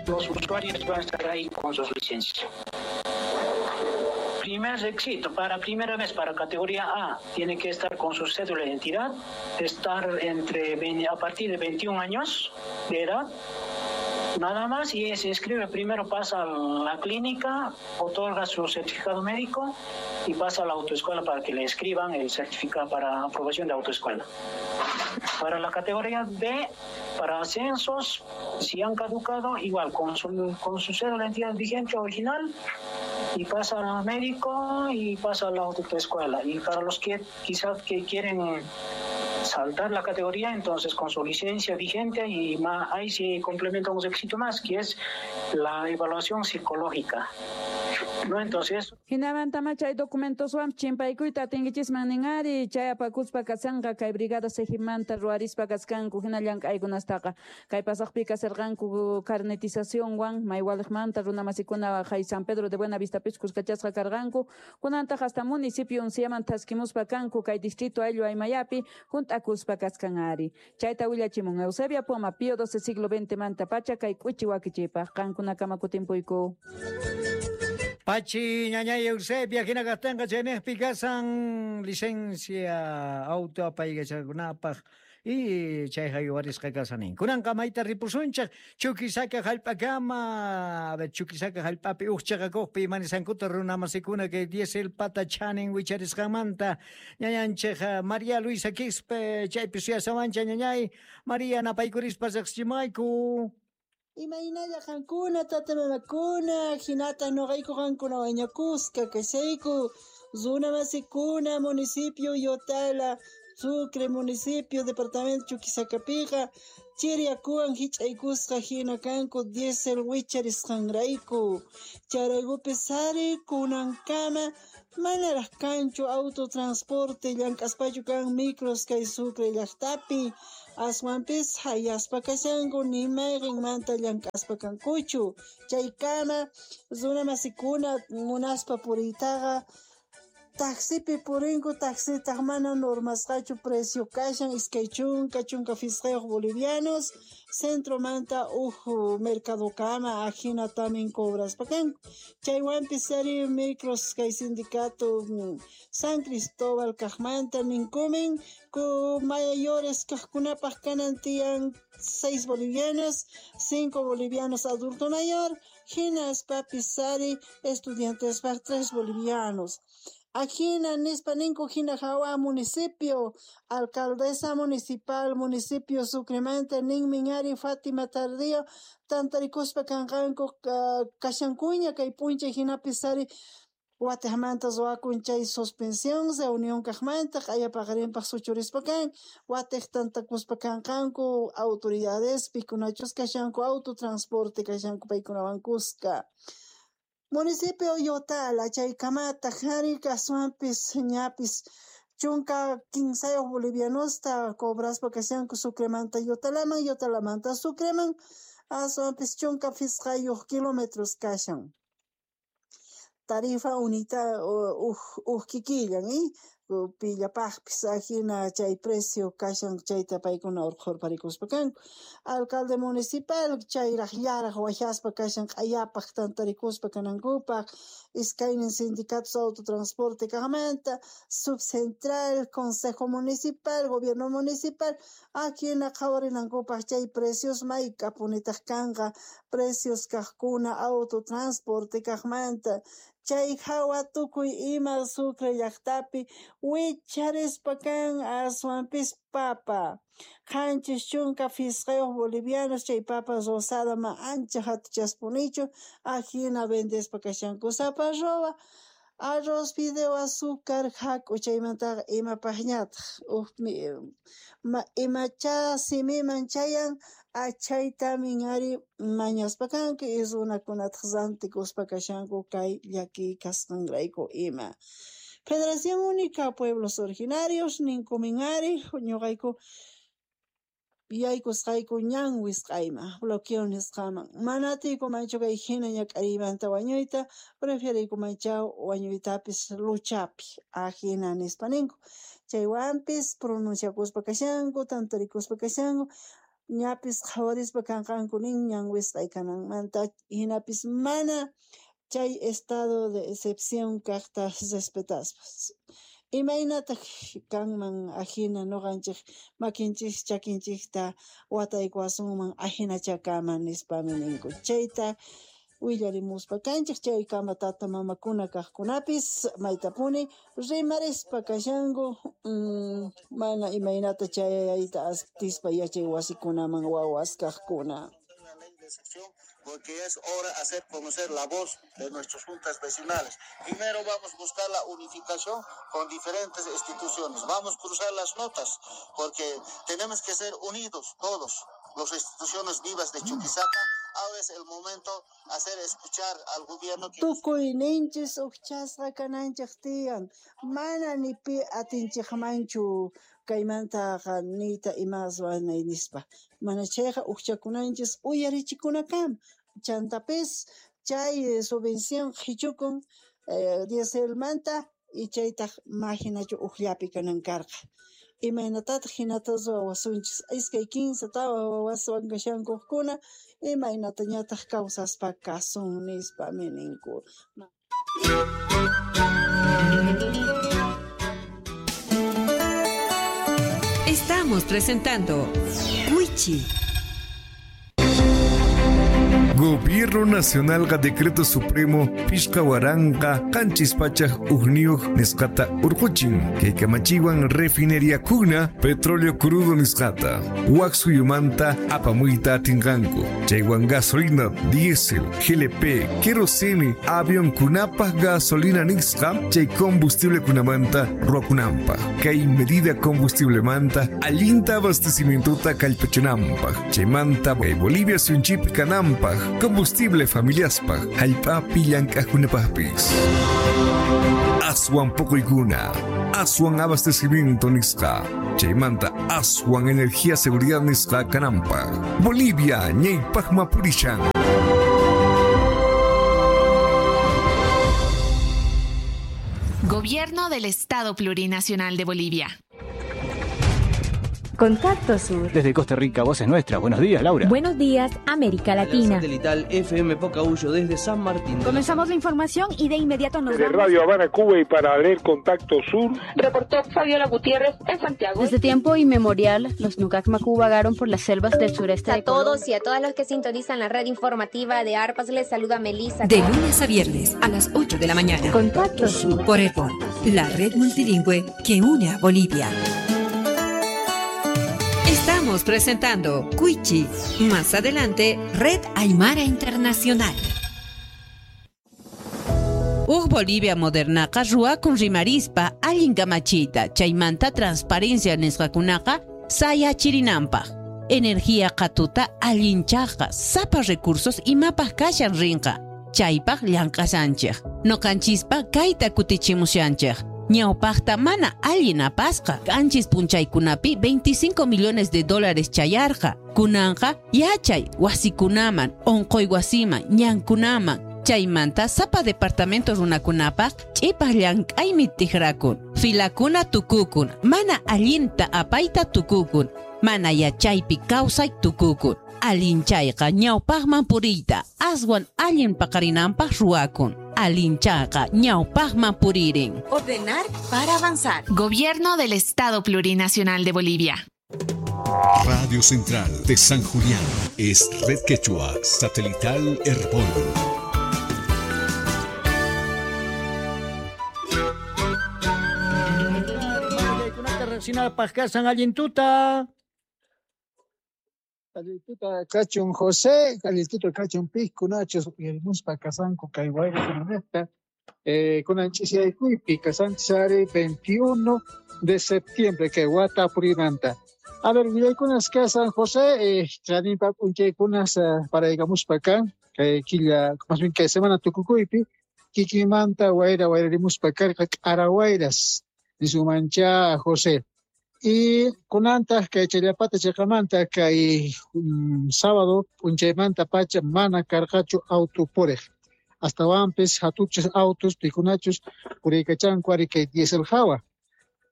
Los usuarios van a estar ahí con sus licencias. Primer requisito, para primera vez para categoría A, tiene que estar con su cédula de identidad, estar entre a partir de 21 años de edad, nada más, y se inscribe primero, pasa a la clínica, otorga su certificado médico y pasa a la autoescuela para que le escriban el certificado para aprobación de autoescuela. Para la categoría B, para ascensos, si han caducado, igual con su cédula de identidad vigente original, y pasa al médico y pasa a la autoescuela. Y para los que quizás que quieren saltar la categoría, entonces con su licencia vigente y más, ahí se complementa un requisito más, que es la evaluación psicológica. No, entonces... Hinamantama chay documentoswan chimpaykuyta atinkichisman ninari chay apakuspa kashanqa kay brigada sejimanta ruwarispa kaskanku hina llank'aykunastaqa kay pasaqpi kasarqanku carnetizacionwan maywaliqmanta runamasikuna hay San Pedro de Buenavistapis kuskachasqa karqanku kunantaq hasta municipio Unciaman thaskimuspa kanku kay distrito ayllu Aymayapi hunt'akuspa kaskan ari chayta willachimun Eusebia Poma Pío XII siglo XX manta pacha kay k'uchi wakichipaq qankunakama kutimpuyku. Pachi ñañay Eusebia hina kaqtinqa chaynejpi kasan licencia auto apaykachakunapaq y chayqa yuwarisqa kasanin. Kunanqa mayta ripusunchaq Chuquisaca hallp'akama, a ver Chuquisaca hallp'api uj chaqakuqpi imanisankuta runamasikuna kay diésel pata chanin wicharisqanmanta ñañanchik María Luisa Quispe chaypi suyasawancha ñañay María napaykurispa riqsichimayku. Imaynalla qankuna tata mamakuna hinata noqayku qankuna wañakusqa kashayku runa masikuna municipio Yotala Sucre municipio departamento Chuquisacapiqa chiriyakuwan hich'aykusqa hina kanku diésel wicharisqanrayku charaykupis ari kunankama manaraq kanchu autotransporte llank'aspachu kan micros kay Sucre llaqtapi aswanpis hayaspa kashanku ni mayqinmanta llank'aspa kankuchu chaykama runa masikuna munaspa puriytaqa taxipi purinku taxitaq mana normasqachu precio kashan iskay chunka chunka phisqayuq bolivianos centromanta uj mercadokama ajina tamin cobraspa kanku chaywanpis ari micros kay sindicato San Cristóbal kaqmanta ninkumin ku mayores kaqkunapaq kanan tiyan 6 bolivianos 5 bolivianos adulto mayor hinaspapis ari estudiantespaq 3 bolivianos. Ajina nispa ninku hina hawa municipio alcaldesa municipal municipio Sucremanta ninmin ari Fátima Tardío tantarikuspa kanqanku kashankuña kay p'unchay hinapis ari watejmanta ruwakun chay suspensión reunión kaqmanta q'ayapaqarinpaq suchurispa kan watej tantakuspa kanqanku autoridades pikunachus kashanku autotransporte kashanku paykunawan kuska. Municipio Yotala chaykamataq ari aswanpis ñapis chunka kinsayuq bolivianosta cobraspa kashanku Sucremanta Yotalaman Yotalamanta Sucreman aswanpis chunka phisqayuq kilómetros kashan. Tarifa unita uj kikillan pillapaqpis ajina chay precio kashan chayta paykuna urqhurparikuspa kanku alcalde municipal chayraq llaraq wajaspa kashan q'ayapaq tantarikuspa kanankupaq iskaynin sindicatos autotransporte kaqmanta subcentral consejo municipal gobierno municipal ajina qhawarinankupaq chay precios mayk'apunitaq kanqa precios kaqkuna autotransporte kaqmanta chay hawa tukuy ima Sucre llaqtapi wicharispa kan aswanpis papa 75 bolivianos chay papa rosada ma ancha hatuchaspunichu ajina vendespa kashanku sapa arroba arroz fideo azúcar hak'u chaymantaqa imapaqñataq imacha simiman chayan achaytamin ari mañaspa kanku y runakunataq rantikuspa kashanku kay llakiy kasqanrayku ima. Federación Única Pueblos Originarios ninkumin ari ñuqayku yaykusqayku ñan wisq'ayman bloqueo nisqaman mana atiykumanchu kay hina ñak'ariymanta wañuyta preferiykumancha wañuytapis luchapi ajina nispa ninku chaywanpis pronunciakuspa kashanku tantarikuspa kashanku Ñapis qhawarispa kanqanku nin ñan wisq'ay kananmanta, hinapis mana chay estado de excepción kaqta respetaspa. Imaynataq kanman ajina nuqanchik makinchik chakinchikta wataykuwasunman ajinachakama nispami ninku. Chayta willarimuspa kanchik chaykama tata mamakuna kaqkunapis maytapuni rimarispa kashanku mana imaynata chayayta atispa yachay wasikunaman wawas kaqkuna. Porque es hora de hacer conocer la voz de nuestras juntas vecinales. Primero vamos a buscar la unificación con diferentes instituciones. Vamos a cruzar las notas, porque tenemos que ser unidos todos, las instituciones vivas de Chuquisaca. Ahora es el momento de hacer escuchar al gobierno. Tukuyninchis ujchasqa kananchik tiyan, mana ni pi atinchikmanchu kaymantaqa niyta imaswan nispa. Mana chayqa ujchakunanchis uyarichikunakama. Chantapis chay subvención qhichukun dieselmanta y chaytaq majinachu ujllapi kanan karqa. Imaynatataq hinata ruwawasunchis iskay kinsa tawa wawaswan kashankuqkuna imaynatañataq kawsaspa kasun nispami ninku. Estamos presentando Wichi. Gobierno Nacional ga Decreto Supremo Pishka Waranqa Qanchis Pachaj Ujniyuq nisqata urquchin kay kamachiwan refinería kuna petróleo crudo nisqata wak suyumanta apamuyta atinqanku chaywan gasolina, diésel, GLP, kerosene, avión kunapaj gasolina nisqa chay combustible kunamanta ruwakunanpaj kay medida combustible manta allinta abastecimientota kallpachinanpaj chaymanta Bolivia suyunchip kananpaj combustible familiaspaj jallp'api llank'ajkunapajpis. Aswan poqoykuna, aswan abastecimiento nisqa, chaymanta aswan energía seguridad nisqa kananpaj. Bolivia ñaypajma purishan. Gobierno del Estado Plurinacional de Bolivia. Contacto Sur. Desde Costa Rica, Voces Nuestras. Buenos días, Laura. Buenos días, América Latina. Satelital FM Pocahuyo desde San Martín. Comenzamos la información y de inmediato nos desde vamos. Radio Habana, Cuba, y para leer Contacto Sur. Reportó Fabiola Gutiérrez en Santiago. Desde tiempo inmemorial, los Nukak Maku vagaron por las selvas del sureste a de Colombia. A todos y a todas los que sintonizan la red informativa de ARPAS, les saluda Melissa. De lunes a viernes a las 8 de la mañana. Contacto Sur. Por Erbol, la red multilingüe que une a Bolivia. Estamos presentando Cuichi. Más adelante, Red Aymara Internacional. Uj Bolivia modernaqa ruwakun rimarispa allin kamachiyta chaymanta transparencia nisqakunaqa sayachirinanpaq. Energía qhatuta allinchaqqa sapa recursos imapaq kashan rinqa. Chaypaq llank'asanchik. Noqanchispa kayta kutichimushanchik. Ñawpaqta mana allin apasqa. Qanchis punchaykunapi 25 millones de dólares chayarqa. Kunanqa yachay wasikunaman, onqoy wasiman, ñankunaman. Chaymanta sapa departamento runakunapaq ch'ipaq llank'aymi tijrakun. Filakuna tukukun, mana allinta apayta tukukun, mana yachaypi kawsay tukukun. Allinchayqa ñawpaqman puriyta, aswan allin paqarinanpaq ruwakun. Alinchaqa ñawpaqman puririn. Ordenar para avanzar. Gobierno del Estado Plurinacional de Bolivia. Radio Central de San Julián es Red Quechua Satelital Herbol. Allintuta. Allintuta kachun José, allintuta kachun piskunachus uyarimuspa kasanku kay wayrakunanejta kunanchisiaykuypi kasanchisari 21 de septiembre kay wata purimanta. A ver, willaykunas kasan José, chaninpa p'unchaykunas paraykamuspa kan kay killa, más bien kay semana tukukuypi kikimanta wayra wayrarimuspa karqa k'arawayras nisumancha José. Y kunantaq kay Challapata chiqamanta kay sábado p'unchaymanta pacha mana karqachu auto puriq. Astawanpis hatuchis autos pikunachus puriykachanku ari kay diésel hawa.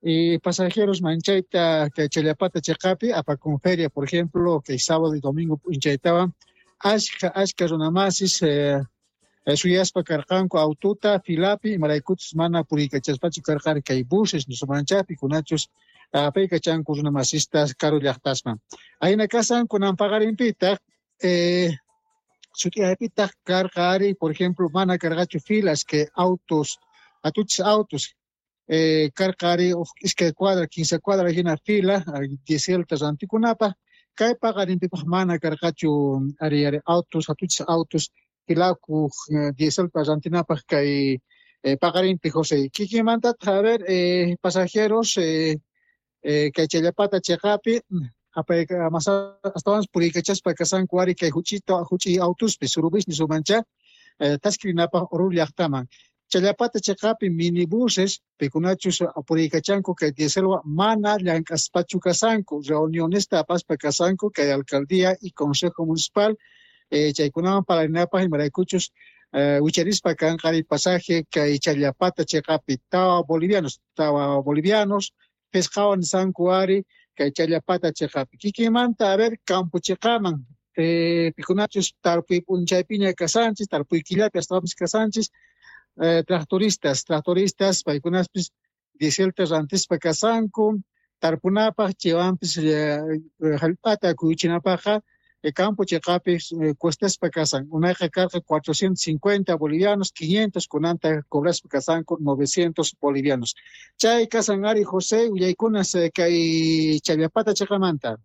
Y pasajeros manchayta kay Challapata cheqapi apakun feria, por ejemplo, kay sábado y domingo p'unchaytawan ashka runamasis suyaspa karqanku aututa filapi imaraykuchus mana puriykachaspachu karqari kay buses nisumanchapi kunachus apaykachanku runamasistas karu llaqtasman. Ayna kasan kunan paqarinpitaq sut'iyaypitaq karqa ari, por ejemplo, mana karqachu filas que autos, atuchis autos karqari iskay cuadra, 15 cuadra hina fila dieselta rantikunapaq kay paqarinpipaq mana karqachu ari autos, atuchis autos filaku dieselta rantinapaq kay paqarinpi José. Kikinmantataq a ver pasajeros kay Challapata cheqapi astawanpas puriykachaspa kasanku ari kay huch'i autuspi surubis nisumancha taskirinapaq Oruro llaqtaman. Challapata cheqapi minibuses pikunachus puriykachanku kay dieselwa mana llank'aspachu kasanku reunionesta apaspa kasanku kay alcaldía y consejo municipal chaykunawan parlarinapaq imaraykuchus wicharispa kanqari pasaje kay Challapata cheqapi tawa bolivianos pesqawan nisanku ari kay Challapata cheqapi. Kikinmanta a ver campo cheqaman pikunachus tarpuy p'unchaypiña kasanchis tarpuy killapi astawanpis kasanchis tractoristas paykunaspis dieselta rantispa kasanku tarpunapaq chaywanpis hallp'ata kuyuchinapaqqa campo cheqapi cuestaspa kasan unayqa karqa 450 bolivianos 500 kunanta cobraspa kasanku 900 bolivianos. Chay kasan ari José willaykunas kay Challapata cheqamanta.